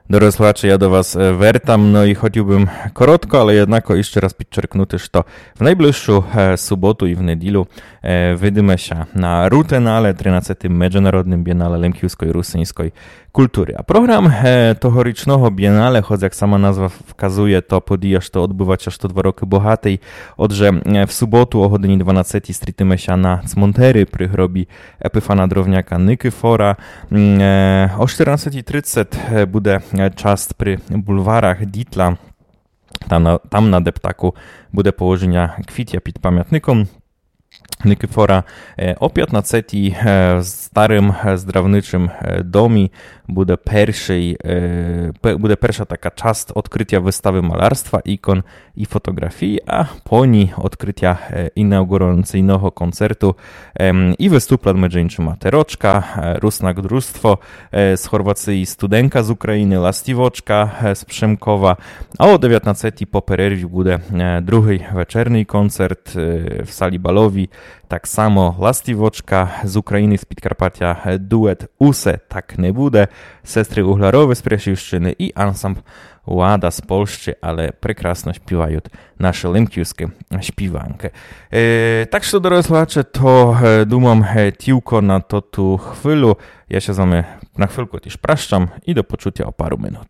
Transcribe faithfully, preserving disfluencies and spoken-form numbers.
Дорогы слухаче, я до вас е, вертам, но і хотів бым коротко, але єднако іщы раз підчеркнути, што в найближшу е, суботу і в неділю е, видиме ся на Рутенале, тринадцятым меджинародным бєнале лемківской і русиньской культуры. А програм е, тогорічного бєнале, хоц як сама назва вказує, то подія, што одбывать ся што два рокы, богатый. Отже, е, в суботу о годині дванадцятій стрітиме ся на цмонтері при гробі Епіфана Дровняка Никифора. М, е, о чотырнадцятій тридцять е, буде е, част при бульварах Дітла. Там на, там на дептаку буде положеня квітя під памятником Никифора. Е, о пятнадцятій е, в старым е, здравничым е, домі буде першый, е, пе- буде перша така част одкрытя выставы малярства, ікон і фотоґрафій, а по ній одкрытя е, інауґураційного концерту ем, і выступлят меджи іншыма Терочка, е, Руснак Дружство е, з Хорвациі, Студенка з Україны, Ластівочка е, з Пшемкова. А о девятнадцятій по перерві буде е, другый вечерный концерт е, в салі баловій. Так само Ластівочка з Україны, з Підкарпатя, е, дует Усе так не буде, сестры Угларовы з Пряшівщыны і ансамбл Лада з Польщы, але прекрасно співают нашы лемківскы співанкы. Е, так што, дорогы слухаче, то е, думам е, тілько на тоту хвилю. Я ся з вами на хвильку тіж пращам і до почутя о пару минут.